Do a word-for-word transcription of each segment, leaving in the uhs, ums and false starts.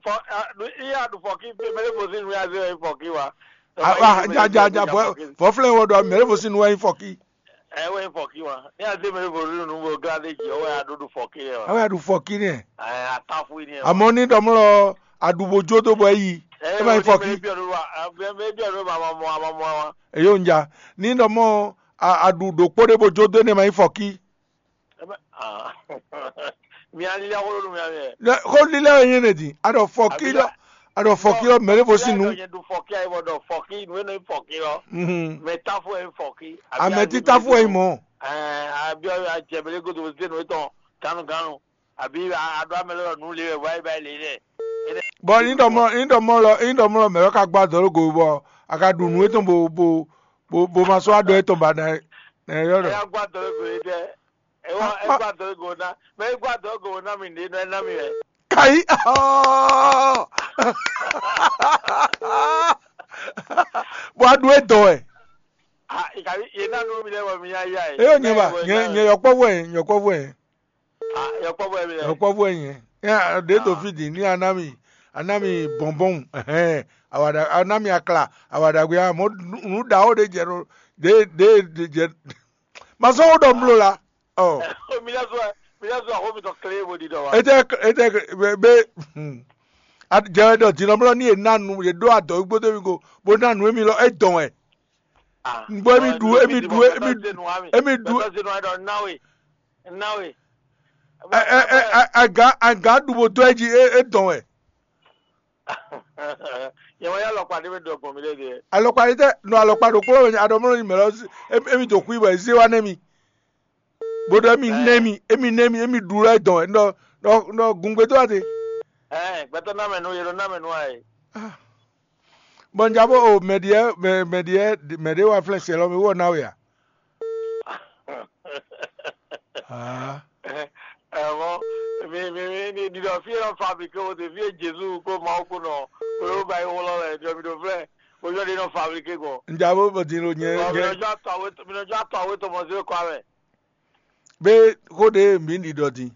Fɔ, a, nu, iya ɖu fɔki, pe mɛ ɖé fɔ sí nu ya zé wɛ fɔki wa. A, a, ja, ja, ja, vɔ, vɔ flɛ wɔ ɖɔ mɛ ɖé fɔ sí nu wɛ nyí fɔki. Ɛ wɛ nyí fɔki wa. Ní a zé mɛ ɖé fɔ sí nu bɔ glá dé jì, ɔwɛ a ɖo ɖu fɔki yɛ wa. Awe a ɖu fɔki nɛ. Ɛ, a ta fún yín nɛ. Amɔ ní ɖɔmlɔ a ɖu bo jó dó bɔ é yi. Ɛ, é ma nyí fɔki. Mɛ bí ɔdún wa, mɛ bí ɔdún wa, ma mɔ, ma mɔ, ma mɔ. Eyo ń ja. Ní ɖɔmɔ a, a ɖu ɖokpó ɖé bo jó dó énɛ́ ma nyí fɔki. Ebe, ah. Mi alila xó ɖo nú mia mɛ. Xó lílá wɛ nyí énɛ́ din. A ɖɔ fɔkí lɔ, a ɖɔ fɔkí lɔ mɛ ɖé vo sín nu. Nyɛ ɖu fɔkí ayi bɔ ɖɔ fɔkí nu enɔ nyí fɔkí lɔ. Mhm. Mɛ táfó wɛ nyí fɔkí. Amɛ tí táfó wɛ nyí mɔ. Ɛɛ, abiɔ ajɛmɛlɛ godo zé nu etɔn ganu ganu. Abi aɖɔ amɛ lɔ nu le wɛ vɔ ayi ba le lɛ. Bɔ ní ɖɔ mɔ ní ɖɔ mɔ lɔ ní ɖɔ mɔ lɔ mɛ lɔ ka gbá dɔ̌ ló go bɔ a ka ɖu nǔ etɔn bo bo bo bo ma sɔ́ aɖɔ etɔn ba nɛ nɛ yɔ ɖɔ. Ɛyà gbá dɔ̌ ló go yé dɛ. Ewɔ egba dɔ ego na, mɛ egba dɔ ego na mi ɖe nɔ ena mi wɛ. Kayi. Bɔ a ɖu e dɔ wɛ. Ah, ikabi ye na nu mi lɛ wɔ mi ya ya e. Eyo nyɛ ba, nyɛ nyɛ yɔkpɔvɔ yɛ, yɔkpɔvɔ yɛ. Ah, yɔkpɔvɔ yɛ mi lɛ. Yɔkpɔvɔ yɛ nyɛ. Ya ɖe do fi di ni anami, anami bɔnbɔn. Ɛhɛn. Awada anami akla, awada gbe amɔ nu da o de jɛ ɖo de de de jɛ. Masɔn wo ɖɔ mlo la. Ɔ. Mi lɛ zɔ mi lɛ zɔ axɔ mi tɔ kle bo di dɔ wa. Ete ete be be. Jɛ wɛ ɖɔ dinɔmlɔ ni yě ná nu yě ɖó adɔ̌ gbódó mi go bó ná nu émi lɔ é dɔn wɛ. Bó émi ɖu émi ɖu émi émi ɖu. Bɛtɔ se nu wa dɔ nawe nawe. Ɛ ɛ ɛ aga aga ɖu bo dó ɛ jí é dɔn wɛ. Yɛn wá yá alɔkpa ɖé mɛ ɖɔ gbɔn mi ɖe ɖe. Alɔkpa ɖé tɛ nɔ alɔkpa ɖokpó lɔ wɛ aɖɔmlɔ nyi mɛ lɔ émi dǒ xwí bɔ é zé wá nɛ́ mi. Bó ɖɔ émi nɛ́ mi émi nɛ́ mi émi ɖu lɔ dɔn wɛ nɔ nɔ gungbe dó wá te. Ɛɛ gbɛtɔ ná mɛ nú yɛ ɖɔ ná mɛ nú wa yɛ. Bɔn ja bó o mɛ ɖiɛ mɛ mɛ ɖiɛ mɛ ɖé wá flɛ́n sɛ lɔ mi wɔ ná we a. Ah. Ɛmɔ mi mi mi mi ɖiɖɔ fí e nɔ fabrike wo te fí e Jezu kó Mawu kó nɔ kó ló ba yi wlɔ lɛ ɖiɖɔ mi ɖo flɛ ojú ɔdi nɔ fabrike gbɔn. Nja bó bɔ din lo nyɛ Ɔ, mi nyɛ nɔ jɔ atɔ awe mi nɔ jɔ atɔ awe tɔmɔ zé kɔ amɛ. Be xó ɖe mǐ ɖi ɖɔ din.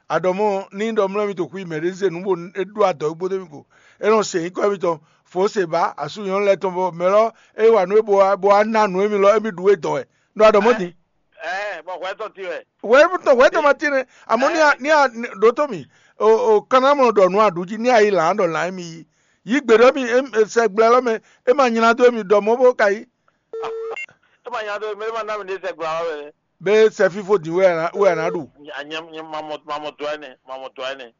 Aɖɔmɔ ní ɖɔ mlɔ́ mi to xwí mɛ ɖé zé nǔ bó é ɖó adɔ̌ gbódó mi ko. É nɔ se nyǐkɔ émítɔn fǒ se bá asú nyɔ̌nu lɛ́ɛ tɔn bɔ mɛ lɔ é wa nǔ é bó wá bó wá ná nǔ émí lɔ émí ɖu é dɔn wɛ. Nɔ aɖɔmɔ din. Ɛɛ bɔ hwɛ tɔn ti wɛ. Wɛ tɔn wɛ tɔn ma tin nɛ. Amɔ ní a ní a ɖǒtó mi o o kanamɔ ɖɔ nǔ aɖu jí ní a yi lǎn ɖɔ lǎn émi yí. Yí gbe ɖɔ émi sɛgblɛ lɔ mɛ é ma nylá dó émi ɖɔ mɔ bó ka yí. É ma nylá dó émi é ma ná mi ɖe sɛgblɛ lɔ mɛ. Be sɛ fífó din wɛ a nǎ wɛ a nǎ ɖu. Mamɔ dɔ ɛnɛ mamɔ dɔ ɛnɛ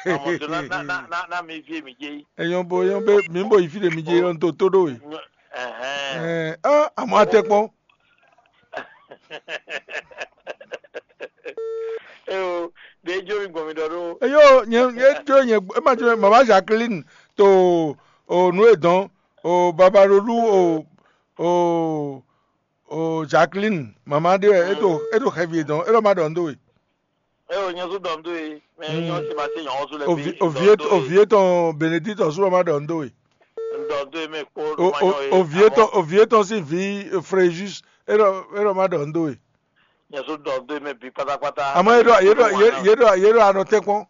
mamɔ dɔ na na na na na mi vie mi dze yi. Enyɔ bo enyɔ be mi bo yi fi ɖe mi dze yi lɔ to to ɖo we. Ɛhɛn. Ɛɛ ɔ amɔ atɛ kpɔn. Eyo ɖe dzo mi gbɔn mi ɖɔ ɖo. Eyo nye nye dzo nye ema dzo mama Jacqueline to o nu e dɔn o babalolu o o o Jacqueline mama ɖe wɛ e to e to xɛvi e dɔn e lɔ ma ɖɔ nu do we. Eo nyɛ su dɔn do e mɛ nyɔ si ma se nyɔ su le bi. Ovi ovi eto ovi etɔn Benedict ɔsu lɔ ma ɖɔ nu do we. Dɔn do e mɛ kpo o o ovi etɔn ovi etɔn si vi Fréjus e lɔ e lɔ ma ɖɔ nu do we. Nyɛ su dɔn do e mɛ bi pátápátá. Àmọ́ yé ɖɔ yé ɖɔ yé ɖɔ yé ɖɔ anɔ tɛnkpɔn.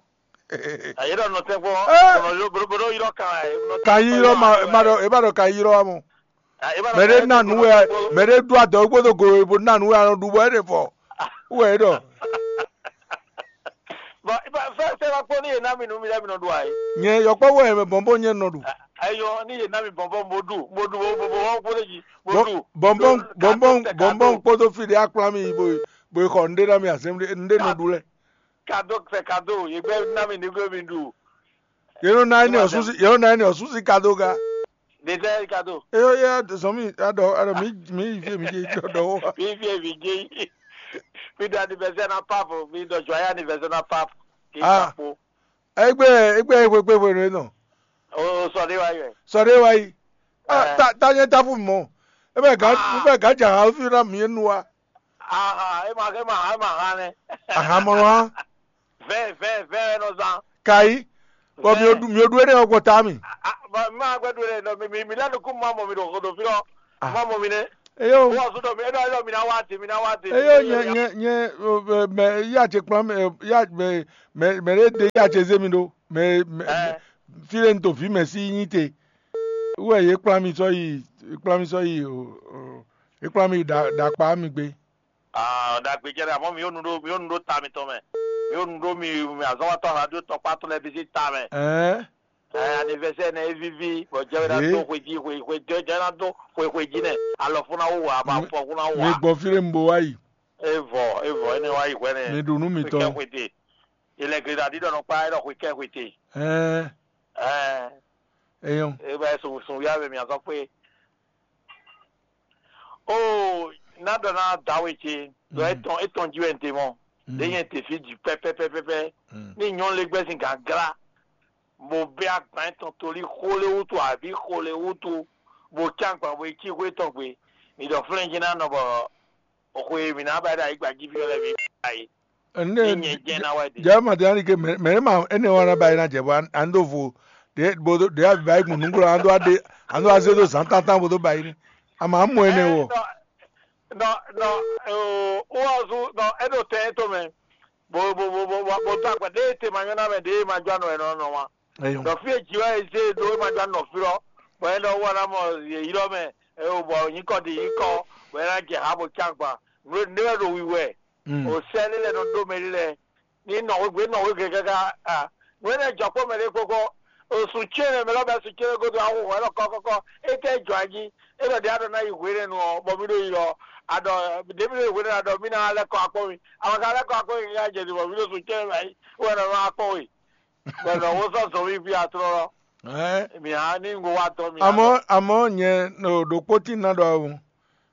Yé ɖɔ nɔ tɛnkpɔn. Bɔnɔ yó bɔnɔ bɔnɔ yó kan ɛ. Kan yí lɔ ma ma ɖɔ e ma ɖɔ kan yí lɔ wa mɔ. Mɛ ɖé ná nu wɛ mɛ ɖé ɖu adɔ̌ gbódò go bo ná nu wɛ anɔ ɖu bɔ é ɖe fɔ. Wɛ é ɖɔ. Bɔn fɛn fɛn ma kpɔn ní yé ná mi nú mi lɛ mi nɔ ɖu ayé. Nyɛ yɔkpɔ wɛ mɛ bɔnbɔn nyɛ nɔ ɖu. Ayɔ ní yé ná mi bɔnbɔn mo ɖu mo ɖu mo bɔnbɔn kpó ɖe jí mo ɖu. Bɔnbɔn bɔnbɔn bɔnbɔn kpódó fi ɖé akplá mi bo bo xɔ nɖé ná mi azɛn nɖé nɔ ɖu lɛ. Kado sɛ kado yé gbɛ ná mi ní gbé mi ɖu. Yé nɔ ná ní ɔsúsí yé nɔ ná ní ɔsúsí kado ga. Ɖe sɛ kado. Eyo yɛ zɔn mi aɖɔ aɖɔ mi mi yi fie mi dze jɔ ɖɔ wo. Mi fie mi dze yi. Mi ɖo anniversaire na pap mi ɖɔ joyeux anniversaire na pap. Kì í Ah. Kpakpo. Egbe egbe egbe gbe hwenu enɔ. O sɔ ɖe wa yɛ. Sɔ ɖe wa yi. Ah, Eh. Ta ta nye ta fu mɔ. Ebe ga Ah. ebe ga dza ha fi na mi nu wa. Aha, ema ema ema ha nɛ. Ahan mɔ wa. Vɛ vɛ vɛ nɔ zan. Kai. Bɔ mi odu mi odu ene ɔgbɔ ta mi. Ma gbɛ do le nɔ mi mi mi lɛ nukun ma mɔ mi ɖo xɔ ɖo fi lɔ. Ma mɔ mi nɛ. Eyo. Wɔ su dɔ mi eɖɔ eɖɔ mi na wa ti mi na wa ti. Eyo nye nye nye mɛ ya tse kplɔn mɛ ya mɛ mɛ mɛ ɖe de ya tse ze mi ɖo mɛ mɛ. fí ɖé un to vǐ mɛ sí nyí te. Wú wɛ yě kplá mi sɔ́ yi, yě kplá mi sɔ́ yi, o, o, yě kplá mi yi ɖa- ɖakpa mi gbé. Ah, ɖagbe jɛ ɖe, àmọ́ mi yóò nu ɖó mi yóò nu ɖó ta mitɔn mɛ. Mi yóò nu ɖó mi mi azɔnwatɔ radio tɔkpá tɔn lɛ́ɛ bísí ta mɛ. Ɛɛ, Ɛ anivɛsɛ nɛ é víví, bɔ jɛ wɛ ná Ee. dó xwe jí xwe xwe jɛ jɛ ná dó xwe xwe jí nɛ. Alɔ fún ná wú wá, bɔ Mi- afɔ fún ná wú mi wá. Gbɔ fí ɖé un bo wá yi. Evɔ evɔ énɛ́ wá yi hwɛ nɛ. Mi ɖu nú Xwe kɛ mitɔn. Xwe te. Ilẹ̀ gleɖaɖi ɖɔ nɔ kpá é ɖɔ xwe kɛ xwe te. Ɛɛ, Ɛ eyɔn. É bɛ sun sun wíyá bɛ mì azɔn kpé. Oo, ná ɖɔ ná dawe ce ɖɔ Mm. Étɔn étɔn jí wɛ n te mɔ. Mm. Ɖé nyɛ te fí jǐ pɛpɛpɛpɛ. Mm. Ní nyɔ́ lé gbɛ́ sín gǎnglá, bó bɛ́ agban étɔn tolí xó lé wútu abǐ xó lé wútu, bó cán agban bó yi cí xwé tɔn gbe. Mǐ ɖɔ flɛ́n jí ná nɔ bɔ xwe e mǐ ná ba ɖo ayǐgba jí fí ɔ́ lɛ́ɛ mǐ ba é. Ní nyɛ jɛ́n ná wɛ ɖe. Jǎwe Madiani ke mɛ mɛ ma énɛ́ wá ná ba é ná jɛ bɔ an dó vo ɖě bó ɖě abi ba é gbɔn nǔgblo an dó adé an dó azé dó zǎn tántán bó dó ba é ní. Ama mɔ énɛ́ wɔ. Nɔ nɔ nɔ oo wɔ zu nɔ é ɖo tɛn é to mɛ. Bo bo bo bo bo bo dó agba ɖé te ma nyɔ́ ná mɛ ɖé ma jɔ anɔ ɛnɔ nɔ wa. Eyɔn. Nɔ fí e jǐ wɛ e zé ɖó é ma jɔ anɔ fí lɔ. Bɔ é nɔ wɔ ná mɔ yě yi lɔ mɛ. Ɛ o bɔ nyǐkɔ ɖi nyǐkɔ bɔ é ná jɛ ha bo cán agba. Nǔ e nɖé wɛ ɖo wiwɛ. Mm. O sɛ lé lɛ nɔ ɖó mɛ lé lɛ. Ní nɔ wé gbé nɔ wé gɛgɛgɛ a. Nǔ énɛ́ jɔ kpó mɛ ɖé kpókpó. Osun céɖé mɛ lɔ bɛ sun céɖé godo awu hɔn ɛlɔ kɔkɔkɔ. Étɛ jɔ ají. É ɖɔ ɖé aɖɔ ná yi hwéɖénu ɔ bɔ mí ɖo yi ɔ. Aɖɔ ɖé mí ɖo yi hwéɖénu aɖɔ mí ná lɛ́ kɔ akpɔ́ mì. Àwọn kan lɛ́ kɔ akpɔ́ mì ká jɛ bɔ mí ɖo sun céɖé mɛ ayi. Wɛ nɔ nɔ akpɔ́ we. Bɔ nɔ wo sɔ zɔn mí fi atrɔ lɔ. Ɛ, Mì á ní ngo wá tɔ mì. Àmọ́ àmọ́ nyɛ ɖokpó tí ná ɖɔ awu.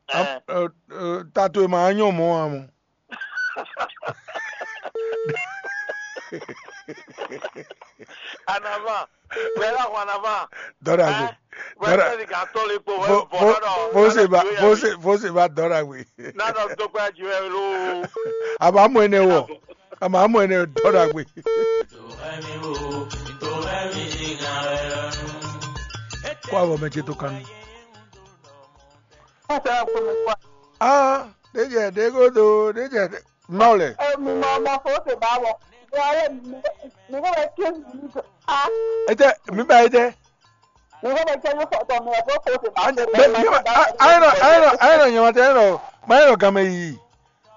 Ɛ. Tato e ma nyɔ mɔ amɔ. Anava. Bɛla ho anava. Dɔra gbe. Wɛsɛ ni ka tɔ le kpo wɛ Fo- bɔ fo- dɔ. Fose ba fose fose ba dɔra gbe. Na dɔ to kpɛ ju ɛ lo. Aba mo ene wɔ. Ama mo ene dɔra gbe. Kó avɔ mɛ ce to kanu. Aa, ɖe jɛ ɖe godo ɖe jɛ. Mawulɛ. Emi mɔ mɔ fo se ba wɔ. Wale mi ko bɛ ke mi ko a. Ete mi ba ete. Mi ko bɛ ke mi fɔ tɔ mi ko fo se ba. Ayɛlɛ ayɛlɛ ayɛlɛ nyama tɛ ayɛlɛ ma ayɛlɛ game yi.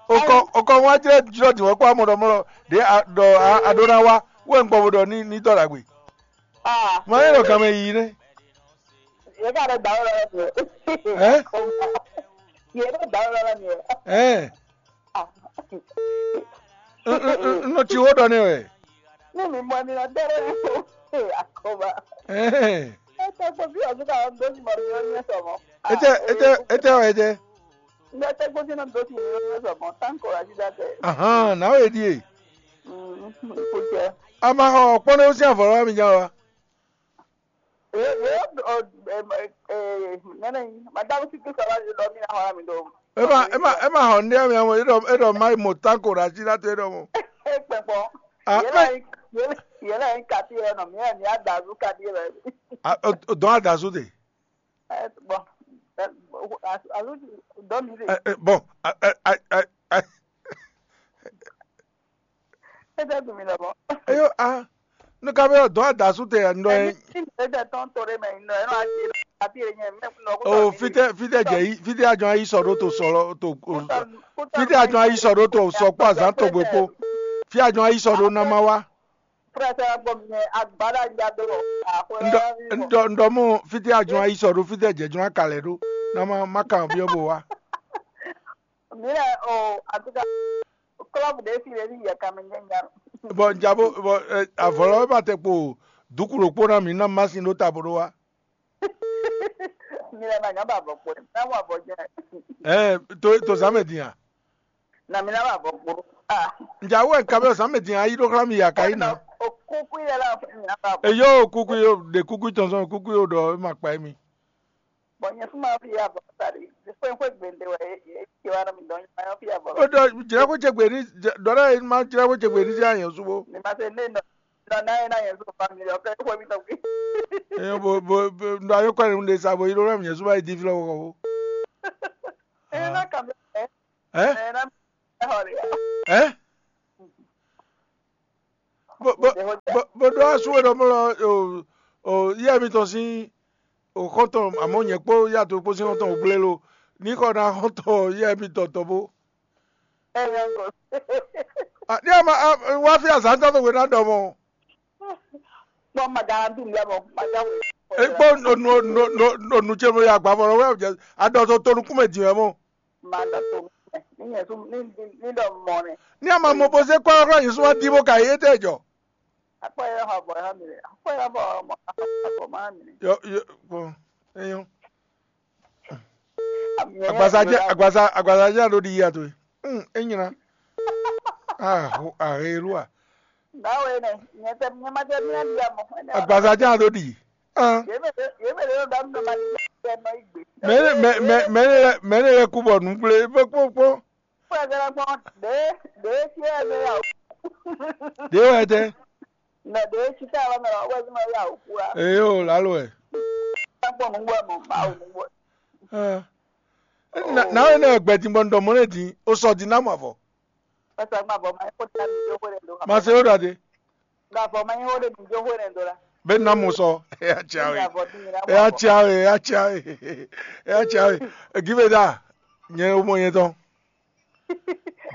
Okɔ okɔ wa jɛ jɔ di wɔ kpɔ amɔ dɔ mɔ dɔ a dɔ a do na wa wɛ n gbɔ bo dɔ ni ni dɔ la gbe. Ah. Ma ayɛlɛ game yi ne. Ye ka ɖe dawɔ lɔ mi. Ɛ? Ye ɖe dawɔ lɔ mi. Ɛ? Ah. N nɔ ci wo ɖɔ ne wɛ. Ní mi mɔ ní ɔdɛ rẹ ní kó. Ee, akɔba. Ɛ? Ete kpo bí ọdún ká lọ dó sí mọ ní ọdún ẹsọ mọ. Ete ete ete wɛ ete. Ní ete kpo sí náà dó sí mọ ní ọdún ẹsọ mọ. Táǹkì ọ̀rọ̀ àti dàtẹ̀. Ahan, na wɛ di e. Kò jẹ. A ma xɔ kpɔnɛ ó sí avɔ lɔ mi nya wa. Ee, ee, o, em, ee, nene, madame si tu sala di dɔ mi na hɔn mi do. Ema ema ema hɔn ndi ami amo eɖɔ eɖɔ ma mo tanko ɖe asi na to eɖɔ mo. Ekpɛkpɔ. Ah, yɛlɛ yɛlɛ yi kati yɛ nɔ mi yɛ mi adazu kati yɛ. Ah, o dɔn adazu de. Bon, azu dɔ mi de. Bon. Ete dun mi lɔbɔ. Eyo a, nu ka bɛ dɔn adasu te ndɔ yɛ. Emi ti mi ete tɔn to ɖe mɛ ndɔ yɛ nɔ ati ati ɖe nyɛ mɛ nɔ ko. O fitɛ fitɛ jɛ yi fitɛ ajɔ ayi sɔ ɖo to sɔ lɔ to o. Fitɛ ajɔ ayi sɔ ɖo to sɔ kpɔ azan to gbe kpo. Fi ajɔ ayi sɔ ɖo nama wa. Frɛsɛ gbɔ mi agba ɖe anya do lɔ. Ndɔ ndɔ ndɔ mu fitɛ ajɔ ayi sɔ ɖo fitɛ jɛ jɔ akalɛ ɖo. Nama ma kan biɔ bo wa. Mi lɛ o aduga club ɖe fi ɖe fi yɛ kame nyɛ nya. Bɔ nja bo bɔ avɔlɔ ma tɛ kpo duku ɖokpo na mi na masin ɖo ta bo ɖo wa. Mi lɛ ma nya ba avɔ kpo na wa avɔ jɛ. Ɛ to to zame din a. Na mi na ba avɔ kpo. Ah. Nja wo nka bɛ zame din ayi ɖo xla mi ya ka yi na. O kuku yɛ la mi na ba avɔ. Eyo kuku yo de kuku tɔn sɔn kuku yo ɖɔ ma kpa mi. Bɔn nyɛ fún ma fi abɔ sáré fɛn fún gbèǹde wɛ é ti wá mi dɔn nyɛ fi abɔ. O dɔ jìnnà kó jẹ gbèní dɔlá yìí ma jìnnà kó jẹ gbèní sí àyàn súbó. Ní ma ṣe ní nọ nọ náà yẹn náà yẹn sọ fami lọ fẹ kó mi tọ pé. Ẹyọ bo bo bo ndo ayé kọ́ ẹni lè sa bo yìí ló rẹ̀ mi yẹn súbá yìí di fi lọ́wọ́ kọ́. Ẹ náà kà mí ẹ Ẹ́ ẹ náà ẹ họ rẹ. Ẹ́. Bó bó bó bó dó asúwé lọ́mọ́ lọ. O yɛ mitɔn sín o xɔ́ntɔn, amɔ̌ nyɛ kpó yɛ to kpó sín xɔ́ntɔn gblé lo, ní xɔ ná xɔ́ntɔn yɛ mitɔn tɔn bó. Ní ama wá fí azǎn tɔn tó hwe ná ɖɔ mɔ. Kpɔ́n ma dá dùn lɛ mɔ ma dá wò. E kpó nonu nonu nonu tse mo ya gbavɔ lɔ wɛ, adɔ to to nukún mɛ din wɛ mɔ. Ma dɔ to nukún mɛ ní nyɛ sún ní ní ní ɖɔ mɔ nɛ. Ní ama mo bó se kɔ́ ɔ́ yě sún wá dí bó ka yé tɛ jɔ. Akpɔ yɛ xɔ bɔ yɛ mi lɛ akpɔ yɛ bɔ mɔ akpɔ ma mi lɛ. Yɔ yɔ kpɔn eyɔn. Agbaza jẹ agbaza agbaza jẹ alo ɖi yi ato yi. Hmm, enyina. Ah, ho ahe lu a. Nawe ne nyɛ tɛ nyɛ ma tɛ mi adi amɔ. Agbaza jẹ alo ɖi. Ah. Yemele yemele yɔ dam nɔ ma di tɛ nɔ igbe. Mɛ mɛ mɛ mɛ ne lɛ mɛ ne lɛ ku bɔ nugble bɔ kpɔkpɔ. Fue gara gbɔn de de si ɛ mɛ ya. De wɛ tɛ. Nɔ de si ta wa mɛ wa wɛ ma ya o kura. Eyo lalo wɛ. Gbɔn nugbo mɔ ma o nugbo. Ah. Na na wɛ ne gbɛdin bɔ ndɔ mɔ ne din o sɔ din na mɔ avɔ. Ɛsɛ ma bɔ ma ko ta mi jo ko le do. Ma se o da de. Nga vɔ ma nyi wo ɖe mi jo hwe nɛ do la. Be na mo sɔ. Eya tia we. Eya tia we eya tia we eya tia we. Give me that. Nyɛ o mɔ nyɛ tɔn.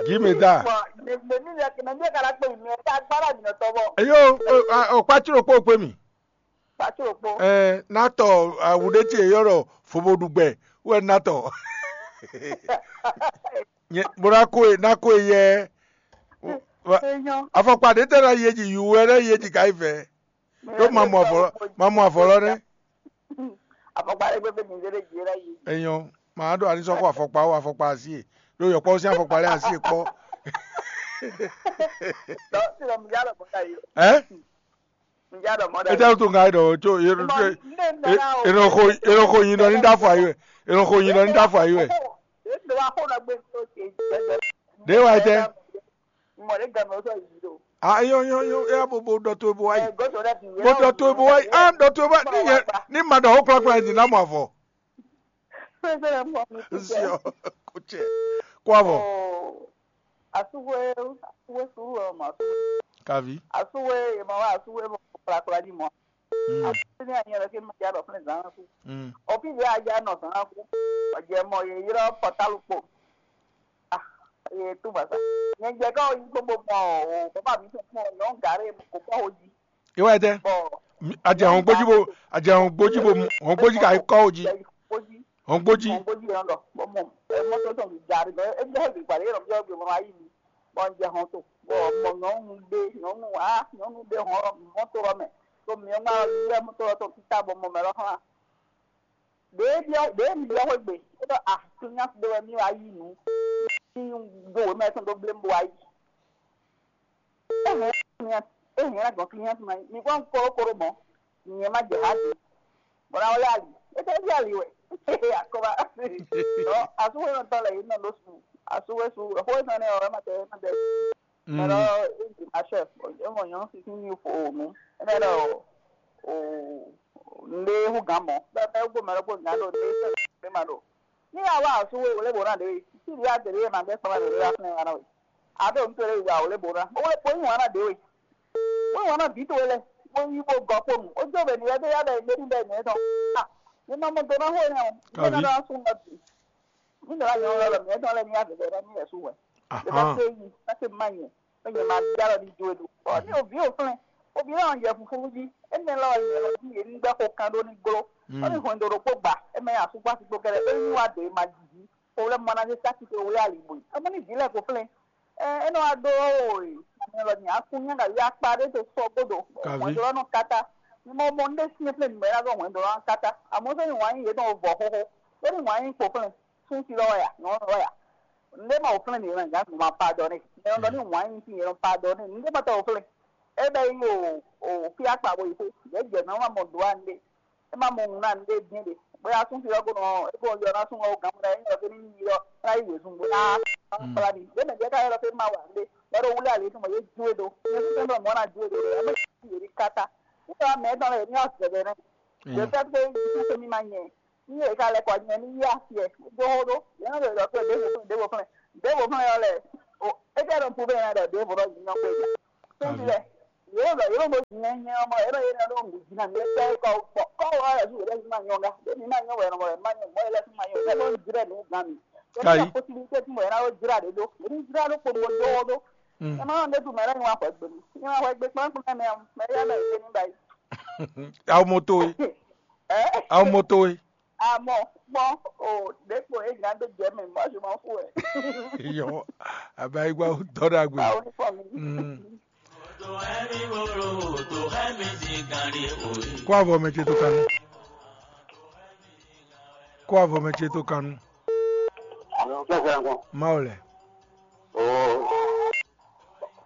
Give me that. Bɔn ne ne mi yɛ ne mi yɛ kana kpe mi yɛ ta gbala mi nɔ tɔ bɔ. Eyo, o kpa tiro kpo kpe mi. Kpa tiro kpo. Ɛ natɔ awuɖe ce yɔrɔ foboɖugbɛ wɛ natɔ. Bó ná kó e ná kó e yɛ. Afɔkpa ɖě tɛ́ ná yí é jí? Yǔ wɛ ná yí é jí ka yi vɛ. Ɖó ma mɔ avɔ ma mɔ avɔ lɔ nɛ́. Afɔkpa ɖé gbé mi zé ɖé jí ná yí. Enyɔ màá ɖo anisɔkɔ afɔkpa ó afɔkpa asi e ɖó yɔkpɔ sín afɔkpa lɛ asi e kpɔ. Dɔ si lɔ mi yá lɔ bɔ ka yi. Ɛ? Ŋjá ɖɔ mɔ ɖe. Ete to nga ɖɔ tso ero tso ero xo ero xo yin ɖɔ ní ɖa fɔ ayi wɛ ero xo yin ɖɔ ní ɖa fɔ ayi wɛ. Ɖe wa xo nɔ gbe to ce jɛjɛ. Ɖe wa tɛ. Mɔ ɖe gan mɛ sɔ yi do. A yɔ yɔ yɔ ya bo bo ɖɔ to bo wa yi. Bo ɖɔ to bo wa yi a ɖɔ to bo wa yi ni yɛ ni ma ɖɔ xo kplakpla yi ni na mɔ avɔ. Nsiɔ kutsɛ kó avɔ. Asúwé asúwé sùúrù ɔmọ. Kavi. Asúwé yemɔ wá asúwé mɔ kplakpla ní mɔ. Asúwé ní anyɛ lɛ kí mɔ já lɔ fún zan kú. Òfin yɛ ajá nɔ zan kú. Ọjẹ mọ yẹ yrọ pọtalu kpo. Ah, yẹ tú bàtà. Nyẹ jẹ ká oyin gbogbo mọ o bàbá mi tún fún ọ yọ ń gàrí kò kọ́ o jí. Iwɛ tɛ. Bɔ adze hɔn gbójú bo adze hɔn gbójú bo hɔn gbójú ka kɔ o jí. Gbójú Hɔn gbójú. Hɔn gbójú yẹn lɔ bɔ mɔ ɛ mɔtò tɔn mi gari bɛ ɛ jẹ bi gbali yẹn lɔ bi ɔgbẹ mɔ ayi mi bɔ n jẹ hɔn to bɔ mɔ nyɔnu ɖe nyɔnu a nyɔnu ɖe hɔn mɔtò lɔ mɛ to mi ŋma yɛ mɔtò lɔ tɔn tita bɔ mɔ mɛ lɔ hàn. Ɖe biɔ ɖe mi biɔ xwegbe e ɖɔ a to nya ɖe wɛ mi wa yi nu. Mi do wɛ mɛ tɔn do blem bo ayi. Ehɛn, ehɛn, gbɔn client ma mi kpɔn kórókóró mɔ nyɛ ma jɛ ha di. Bɔla wọlé ali, ete bi ali wɛ. Akɔba. Ɔ asuwe nɔ tɔ le yi nɔ ɖo su. Asuwe su, ɛfɔ etɔn ne ɔ ɛma tɛ ɛma tɛ. Mɛlɔ eji ma chef, emo nyɔ sisi ni fo nu. Ene lɛ o o nde hu gan mɔ. Bɛ mɛ gbɔ mɛlɔ gbɔ gan do nde sɛ ma do. Ní àwa àsúwò wòlé bò náà dé wé, tí ìdí àtẹ̀lé yẹn máa gbẹ́ sọ́mọ́ lórí wá fún ẹ wá náà wé. Àbẹ́ òun tó lè wà wòlé bò náà. Ó wọlé pé oyún wa náà dé wé. Oyún wa náà bí tó wé lẹ. Ó yí bó gọ kpónú. Ó jó bẹ̀ nìyẹn tó yá bẹ̀ gbé níbẹ̀ nìyẹn tán. À ní máa mọ tó náà hó yẹn o. Ní máa náà sún lọ bì. Ní ìdọ̀lá yẹn ń lọ lọ nìyẹn tán lẹ́ni àbẹ̀bẹ̀ rẹ ní ẹ̀sùn wẹ̀. Lè bá pé yìí, bá pé má yẹn. Ó yẹ máa bí àlọ́ ní ju èlò. Ọ̀ ní òbí òfin. Òbí náà ń jẹ funfun jí. Ẹni lọ́wọ́ yẹn lọ bí èmi gbẹ́ kó kan ló ní gbó. Ó ní hɔn ìdòdò kó gbà. Ẹ mẹ àsùgbà sí gbó kẹrẹ. Ó ní wà dé máa jì jí. Owó lẹ́mọ náà ṣe sákìtì owó yà lìbò yìí. Ẹ mọ ní ìdílé kò fún ẹ. Ẹ ẹ náà wá dó òòyì. Ẹ lọ ní akún yẹn kàwé apá dé tó sọ gbódò. Kàwé. Wọ́n jọ lọ́nà kátá. Ní mo mọ ní sí fún mi mẹ́ra gọ́ wọ́n jọ lọ́nà kátá. Àmọ́ sẹ́yìn wọ́n á yín yé tán vọ̀ hóhó. Ó ní wọ́n á yín kò fún ẹ. Fún ti lọ́wọ́ yà. Ní wọ́n lọ́wọ́ yà. Ndé ma wò flɛ́n mi wɛ gǎn ma pardonné. Nyɛ nɔ ɖɔ ní wǎn nyi fí nyɛ nɔ pardonné. Ndé ma tɔ wò flɛ́n. É bɛ yi o o fí akpa bo yi xó. Yɛ jɛ nɔ ma mɔ do a ndé. É ma mɔ ŋun na ndé dín ɖe. Bóyá sún fi ɔgbo nɔ é ko yɔ na sún ɔgbo gǎn mɔ ɖe é nyɔ fí ní yi ɔ ná yi wězun bó ná kpla mi. Yé mɛ jɛ ká yɔ fí ma wà ndé. Bɛ ɖo wúlé ali tún mɔ yé ju é do. Yé fí fɛn mɔ na ju é do. Yé mɛ yé ní kata. Nítorí àmì ẹ̀ tán lẹ̀ yé ní ọ̀sẹ̀ bẹ̀ náà. Yé fẹ́ pé yé fẹ́ mi ma nyɛ. Ní yě ká lɛ́ kɔ nyɛ ní yí asi ɛ dó xó ɖó yě nɔ ɖo ɖɔ pé ɖěvo flɛ́n ɖěvo flɛ́n ɖěvo flɛ́n ɔ́ lɛ o é jẹ́ ɖɔ púpé yẹn ɖɔ ɖěvo ɖɔ nyɔ pé jà. Tóbi lɛ Yóò ɖɔ yóò ɖo nyɛ nyɛ ɔmɔ yóò ɖɔ yé nɔ ɖo nǔ jí na mi kpɛ kɔ kpɔ kɔ wɔ yɛ su yɛ su ma nyɔ ga ɖe mi ma nyɔ wɛ nɔ wɛ ma nyɔ mɔ yɛ lɛ su ma nyɔ yɛ lɔ jrɛ nǔ gan mi yɛ lɔ possibilité ti mɔ yɛ na wo jra ɖe ɖo mi jra ɖo kpo ɖo ɖo ɖo ɛ ma nɔ ɖe du mɛ lɛ nyɔ wa xɔ gbe mi nyɔ wa xɔ gbe kpɔn kpɔn mɛ mɛ yɛ mɛ yɛ ni ba yi. Awo moto e. Ɛ Awo moto e. Amɔ kpɔn o ɖe kpo e nya ɖe jɛ mɛ mɔ je m'en fous ɛ. Yɔ. Abayigba dɔ ɖagbe. Awo ni fɔ mi. Mm. Kó avɔ mɛ ce tó kanu. Kó avɔ mɛ ce tó kanu. Alo, kí ẹ sẹ́yìn kan. Má o lɛ. Oo.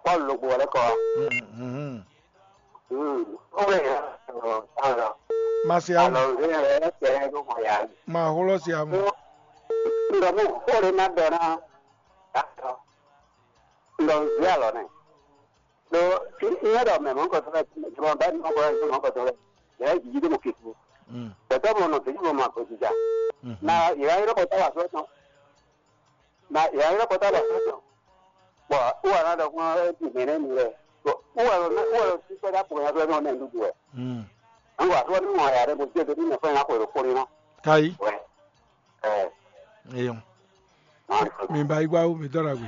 Pọ́ọ̀lù ló gbowó lẹ́kọ̀ọ́ wa. Mhm. Hmm. Ó lè yẹ ọ̀rọ̀ ọ̀rọ̀. Má se awu. Àlọ́ ń gbé ẹ̀ ẹ̀ tẹ̀ ẹ́ ló mọ̀ yá. Má hóló se amu. Ńdọ̀ mú kó lè má dọ̀ ná. Ńdọ̀ ń gbé àlọ́ nẹ̀. Lo ńlẹ́ dọ̀ mẹ̀ mọ́ kɔ̀tọ́ rẹ̀ jùlọ bá ní ọkọ̀ rẹ̀ mọ́ kɔ̀tọ́ rẹ̀. Yàrá ìdíjí dé mo kè fún. Mm. Tẹ̀tọ́ mo nọ tèmi mo ma kò jìjà. Mhm. Na ìyá yẹn lọ́kọ̀ táwa sọ́tàn. Na ìyá yẹn lọ́kọ̀ táwa sọ́tàn. Bɔn wúwa náà dɔ̀kun ẹ̀ ti mẹ́rẹ́ mi rẹ̀. Bɔn wúwa lọ wúwa lọ sí sọ́jà kò yẹn fẹ́ náà nẹ̀ ń dúdú ẹ̀. Mm. Àwọn àtúwọ́ nínú ọ̀yà rẹ̀ mo jẹ́ tó nínú ẹ̀fọ́ yẹn lápò èrò kórè náà. Kayi. Wẹ̀ ẹ̀ Eyɔn. náà ń sọ. Mi ba igba wo mi dɔ ɖagbe.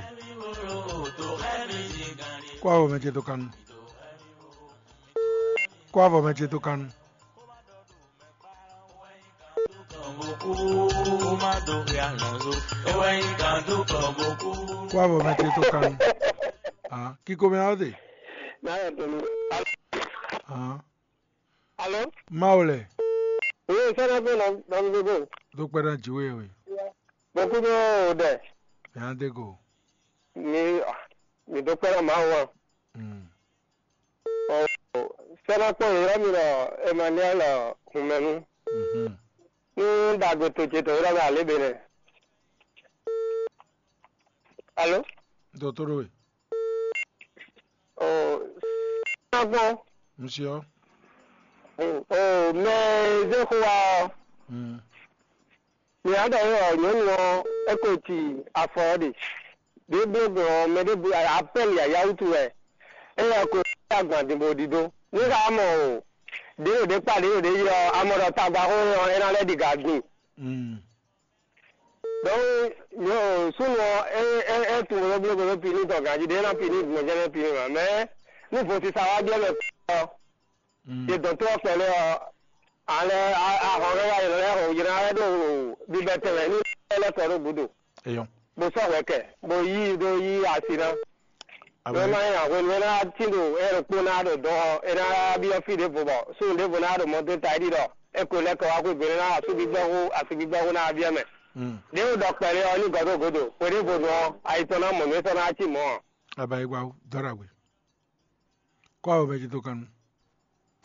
Kó avɔ mɛ ce tó kanu. Kó avɔ mɛ ce tó kanu. Kó avɔ mɛ ce tó kanu. Ah, kíkó mi awo de. Náà yẹ tó mi. Ah, Alo? Má o lɛ. Oui, sɛnɛ gbé nɔ nɔ mi gbogbo. Dó kpɛɖá jiwé we. Mo kú ní o dɛ. Yàn dé go. Mi mi dó kpɛɖá ma wa. Mm. Sɛnɛ kpɔn yɔrɔ mi lɔ Emmanuel Hunmɛnu. Mhm. Ní dàgbé tó ce tó yɔrɔ mi alé be nɛ. Alo? Dotoro we. O sɛnɛ kpɔn. Monsieur. O mɛ zé xó wa ɔ. Mm. Mǐ á ɖɔ é ɔ́, nyɔ̌nu ɔ́, é ko ci afɔ ɔ́ ɖe. Ɖěbǔ gbɔn ɔ́, mɛ ɖěbǔ apɛ́li yǎyá wútu wɛ. Éyɛ́ ko agban din bó ɖidó. Ní xa mɔ o, ɖě ɖo ɖě kpa ɖě ɖo ɖě yi ɔ́, a mɔ ɖɔ tagbaxó ɔ́, é ná lɛ́ ɖi gǎ gbìn. Mm. Donc, nyɔ súnnu ɔ́, é é é tunwun ɖó blógbó ɖó pini tɔn ganjí ɖé é ná pini gbɔn jɛ́n nɛ́ pini mɛ. Mɛ nú vo sisa wá jɛ mɛ ɔ́, Mm. yě dɔn tó ɔ́ kpɛɖé ɔ́, alɛ ahɔn lɛ́ wá yě lɛ́ hɔn yě ná lɛ́ ɖo bibɛ tɛnmɛ ní lɛ́ kɔ ɖó gǔdo, Eyɔn. bó sɔ́ hwɛ kɛ, bó yí ɖó yí asi ná. Wé Amen. má nyí ahwenu é ná tín ɖo é ɖo kpó ná ɖo dɔn ɔ́, é ná byɔ́ fí ɖěvo bɔ súnnu ɖěvo ná ɖo mɔ dó ta é ɖi ɖɔ é ko lɛ́ kɔ wá xwé gbe é ná asúgbígbɛ́ hú asúgbígbɛ́ hú ná byɔ́ mɛ. Mm. Ɖě wo ɖɔ kpɛɖé ɔ́ ní gɔ̌ ɖo gǔdo, hwe ɖěvo nu ɔ́, ayi tɔn ná mɔ nǔ é sɔ́ ná cí mɔ̌ ɔ́. Abayigba wo dɔ ɖagbe. Kó avɔ mɛ ce tó kanu.